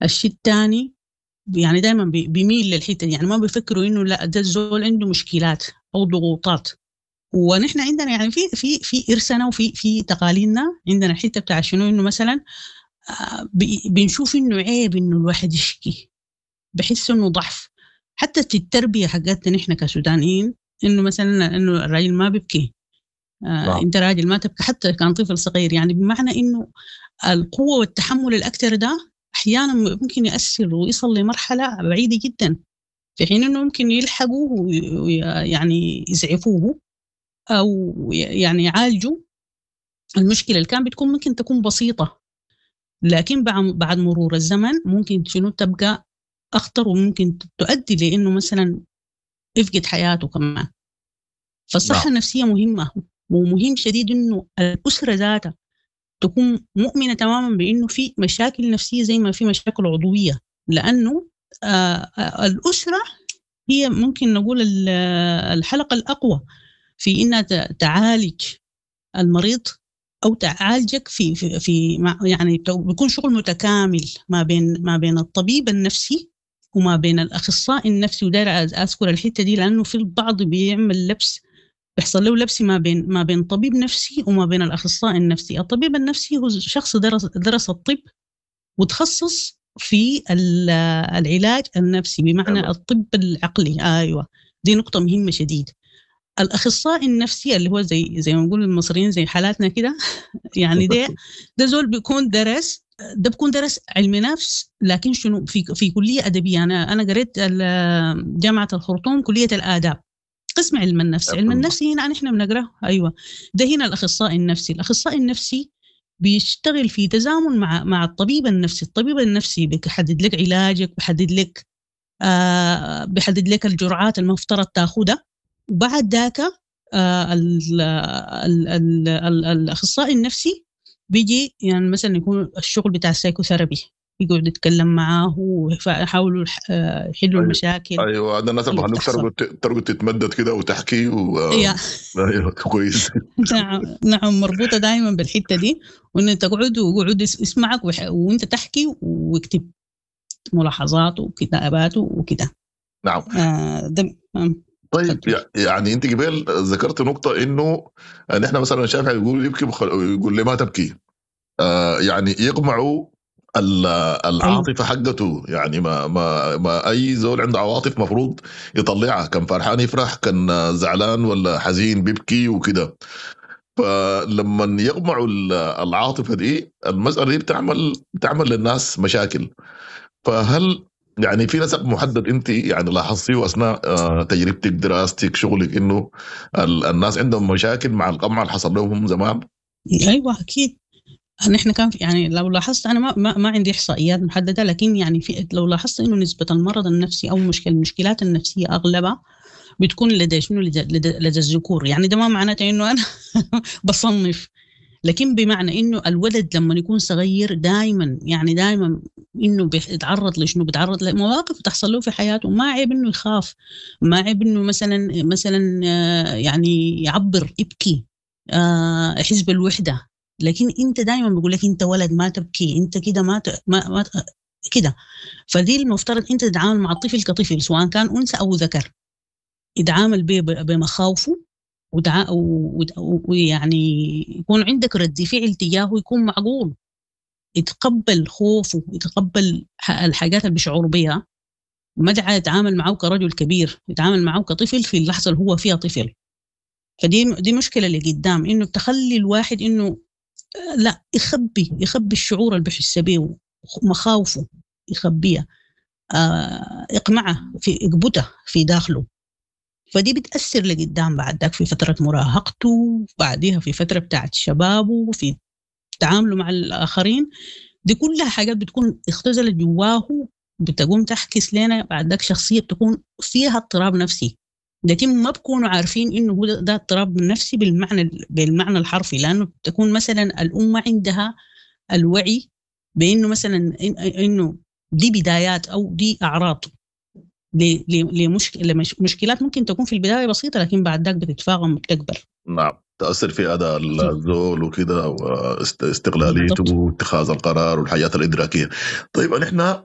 الشيء الثاني يعني دائما بيميل للحتة دي، يعني ما بيفكروا انه لا ده الزول عنده مشكلات او ضغوطات. ونحن عندنا يعني في ارثنا وفي تقاليدنا عندنا الحتة بتاع شنو، انه مثلا بنشوف انه عيب انه الواحد يشكي، بحس انه ضعف. حتى في التربية حقتنا نحن كسودانيين انه مثلا انه الراجل ما بيبكي، انت راجل ما تبكي حتى كان طفل صغير، يعني بمعنى انه القوة والتحمل الاكثر ده احيانا ممكن ياثر ويصل لمرحلة بعيدة جدا، في حين انه ممكن يلحقوا ويعني يسعفوه او يعني يعالجوا المشكلة اللي كان بتكون ممكن تكون بسيطة، لكن بعد مرور الزمن ممكن شنو تبقى اخطر، وممكن تؤدي لانه مثلا يفقد حياته كمان. فالصحه النفسية مهمة، ومهم شديد انه الاسرة ذاتها تكون مؤمنة تماما بانه في مشاكل نفسية زي ما في مشاكل عضوية، لانه الاسرة هي ممكن نقول الحلقة الاقوى في انها تعالج المريض او تعالجك في في, في يعني بيكون شغل متكامل ما بين الطبيب النفسي وما بين الاخصائي النفسي. وداير اذكر الحتة دي لانه في البعض بيعمل لبس، بيحصل له لبس ما بين طبيب نفسي وما بين الاخصائي النفسي. الطبيب النفسي هو شخص درس الطب وتخصص في العلاج النفسي، بمعنى الطب العقلي. ايوه، دي نقطة مهمة شديد. الاخصائي النفسي اللي هو زي ما نقول المصريين زي حالاتنا كده يعني ده زول بيكون درس، ده بيكون درس علم نفس، لكن شنو في كليه ادبية. انا قريت جامعه الخرطوم كليه الاداب قسم علم النفس. علم النفس هنا نحن بنقراه، ايوه ده هنا الاخصائي النفسي. الاخصائي النفسي بيشتغل في تزامن مع الطبيب النفسي. الطبيب النفسي بيحدد لك علاجك، بيحدد لك الجرعات المفترض تاخذها، وبعد ذاك الاخصائي النفسي بيجي يعني مثلا يكون الشغل بتاع ال psychotherapy، يقعد يتكلم معاه ويحاولوا يحلوا المشاكل. ايوه، هذا الناس اللي بخلوك ترقد تتمدد كده وتحكي ايوه كويس. نعم، مربوطة دائما بالحتة دي، وان تقعد ويقعد يسمعك وانت تحكي ويكتب ملاحظاته وكتاباته وكده. نعم. طيب يعني انت قبل ذكرت نقطة انه نحن مثلا شافعي يقول يبكي يقول لي ما تبكي، يعني يقمعوا العاطفة حقته، يعني ما ما ما اي زول عنده عواطف مفروض يطلعها، كان فرحان يفرح، كان زعلان ولا حزين بيبكي وكده. فلما يقمعوا العاطفة دي، المسالة دي بتعمل للناس مشاكل. فهل يعني في نسق محدد انت يعني لاحظتيه اثناء تجربتك، دراستك، شغلك، انه الناس عندهم مشاكل مع القمع اللي حصل لهم زمان؟ ايوه اكيد. نحن كان يعني لو لاحظت، انا ما عندي احصائيات محددة، لكن يعني في لو لاحظت انه نسبه المرض النفسي او المشكلات النفسية اغلبها بتكون لدى شنو؟ لدى الذكور. يعني ده ما معناته انه انا بصنف، لكن بمعنى انه الولد لما يكون صغير دائما يعني دائما انه بيتعرض لشنو؟ بيتعرض لمواقف تحصل له في حياته، ما عيب انه يخاف، ما عيب انه مثلا يعني يعبر، يبكي، يحس بالوحدة. لكن انت دائما بيقول لك انت ولد ما تبكي، انت كده ما كده. فدي المفترض انت تتعامل مع الطفل كطفل، سواء كان انثى او ذكر، يتعامل بمخاوفه ويعني يكون عندك رد فعل تجاهه يكون معقول، يتقبل خوفه، يتقبل الحاجات اللي بيشعر بها، ما يتعامل معه كرجل كبير، يتعامل معه كطفل في اللحظة اللي هو فيها طفل. فدي مشكلة اللي قدام، انه تخلي الواحد انه لا يخبي الشعور اللي بيحس به، مخاوفه يخبيها، يقمعها، في يقبتها في داخله. فدي بتأثر لقدام بعد ذاك في فترة مراهقته، بعديها في فترة بتاعت شبابه، في تعامله مع الآخرين. دي كلها حاجات بتكون اختزلت جواه، بتقوم تحكس لنا بعد ذاك شخصية بتكون فيها اضطراب نفسي، لكن ما بكونوا عارفين انه هو ده اضطراب نفسي بالمعنى الحرفي، لانه بتكون مثلا الام عندها الوعي بانه مثلا انه دي بدايات او دي اعراض لمشكلات ممكن تكون في البداية بسيطة، لكن بعد ذاك بتتفاقم وبتكبر. نعم، تاثر في اداء الزول وكده، واستقلاليته واتخاذ القرار والحياة الادراكيه. طيب نحن